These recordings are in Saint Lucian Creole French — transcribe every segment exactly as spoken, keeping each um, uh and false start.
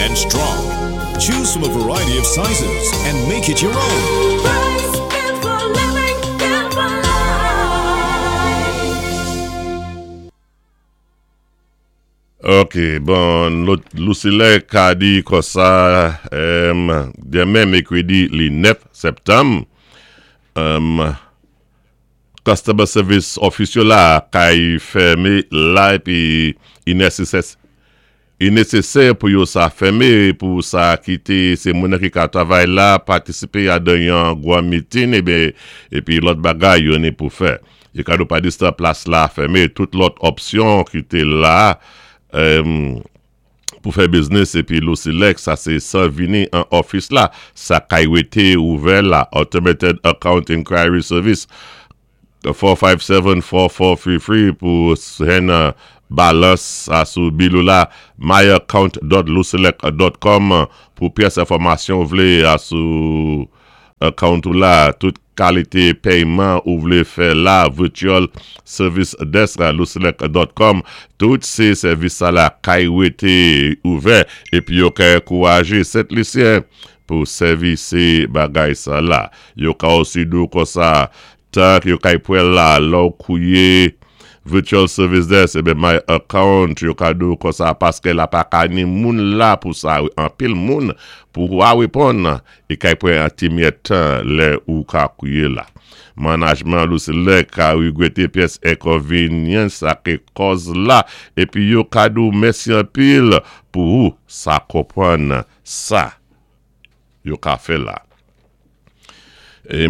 and strong. Choose from a variety of sizes and make it your own. Rice, good for living, good for life. Ok, bon, LUCELEC ka di konsa, um, denmen mèkredi li nèf septanm, um, Customer Service Office yo la kay fèmé la epi i nesesè i nesesè pou yo sa fèmé pou sa kité sé moun ki ka travay la patisipé adan yon gwa meeting ébé epi lòt bagay yo ni pou fè. Yo ka do pa distan plas la fèmé, tout lòt opsyon ki té la um, pou fè business epi LUCELEC, sa sé san vini an office la, sa kay wété ouvè la, Automated Account Inquiry Service four five seven, four four three three pou hen balance a sou bill ou la, myaccount dot lucelec dot com pou pyès enfòmasyon ou vlé a sou account ou la, tout kalité péyman ou vlé fè la, virtual service desk lucelec dot com, tout sé sèvis sa la kay wété ouvè epi yo ka ankourajé Sent Lisyen pou sèvi sé bagay sa la. Yo ka osi di ou konsa tak yo kay pwèl la, lò kouye virtual service desk, ébé my account, yo ka di ou konsa paské la pa ka ni moun la pou sa, anpil moun pou wa wéponn, e kay pwan an ti myèt tan lè ou ka kouye la. Management LUCELEC ka wégwété pyès enkonvényans sa ki kòz la, epi yo ka di ou mèsi anpil pou ou sa konpwann sa yo ka fè la.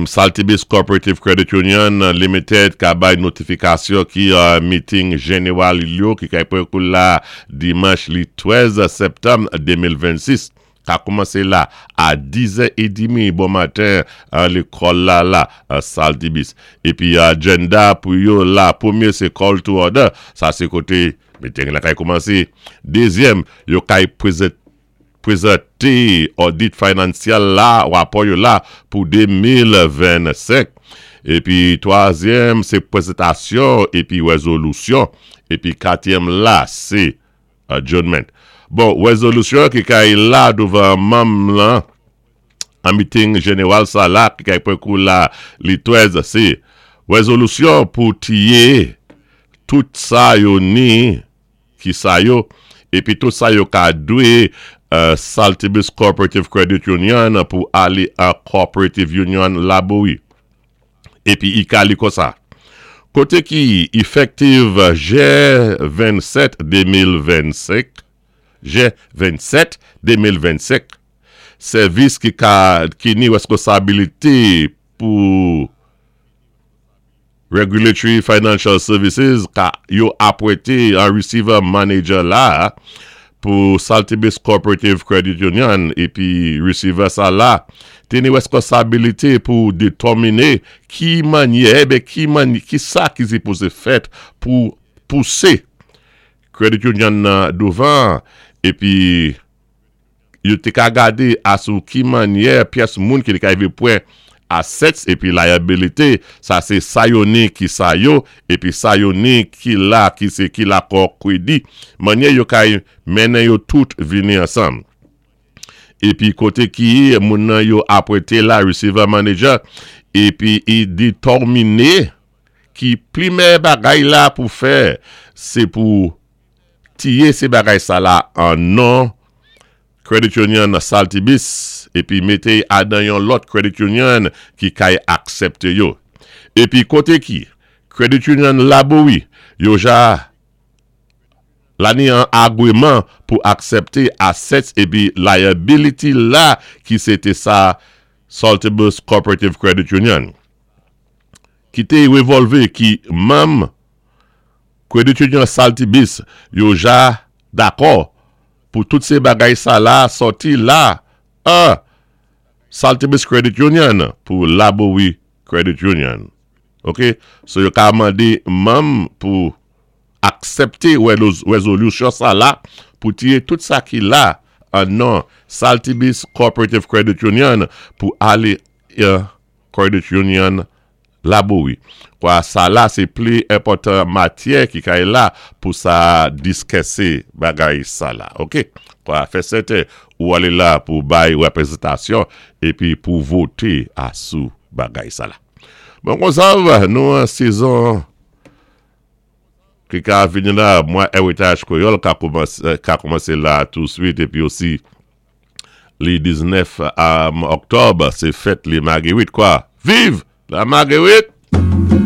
Saltibus Cooperative Credit Union Limited ka bay notifikasyon ki uh, meeting jeneral yo ki kay pwé kou la dimanch li trèz septanm de mil vennsis. Ka koumansé la a dizè trant bon maten an lékòl la la Saltibus. Epi agenda pou yo la, pwémyé sé call to order, sa sé koté meeting la kay koumansé. Dézyèm, yo kay prezanté audit financial la, rapò yo la pou de mil vennsenk. Epi twazyèm, sé pwézentasyon epi wézolisyon. Epi katyèm la, sé adjournment. Bon, wézolisyon ki kay la douvan manm lan, an meeting jeneral sa la, ki kay pwé kou la li trèz, sé wézolisyon pou tiyé tout sa yo ni, ki sa yo, epi tout sa yo ka dwé Uh, Saltibus Cooperative Credit Union pou alé a Cooperative Union Laboui. Epi i ka li konsa. Koté ki effective jen vennnsèt de mil vennsenk, jen vennnsèt de mil vennsenk, sèvis ki ka ki ni wèskonsabilité pou Regulatory Financial Services ka yo apwété an receiver manager la pou Saltibus Cooperative Credit Union, epi receiver sa la té ni wèskonsabilité pou détèminé ki mannyè bé ki mannyè ki sa ki sipozé fèt pou pousé Credit Union nan douvan, epi yo té ka gadé asou ki mannyè pyès moun ki ka rivé pwan assets epi liability, sa sé sa yo ni ki sa yo, epi sa yo ni ki la, ki sé ki la kò kwédi, mannyè yo kay mennen yo tout vini ansanm. Epi koté ki moun nan yo apwété la receiver manager, epi i détèminé ki pwémyé bagay la pou fè, sé pou tiyé sé bagay sa la an non Credit Union Saltibus, epi mété adan yon lòt Credit Union ki kay aksepté yo. Epi koté ki Credit Union Laboui, yo ja la ni an agreement pou aksepté assets epi liability la ki sé té sa Saltibus Cooperative Credit Union. Ki té revolvé ki manm Credit Union Saltibus yo ja dakò pou tout sé bagay sa la sòti la a Saltibus Credit Union pou Laboui Credit Union. Ok? So yo ka mandé manm pou aksepté wézolisyon sa la pou tiyé tout sa ki la an non Saltibus Cooperative Credit Union pou alé uh, Credit Union Laboui. Kwa sa la sé pli enpòtan matyè ki kay la pou sa diskisé bagay sa la. Ok? Kwa, fè sèten ou alé la pou bay wépwézantasyon épi pou voté asou bagay sa la. Bon, konsa, nou an sezon ki ka vini la, mwa Eritaj Kwéyòl ka koumansé, ka koumansé la touswit épi osi li diznèf oktòb, sé fèt li Magéwit kwa. Viv la Magéwit!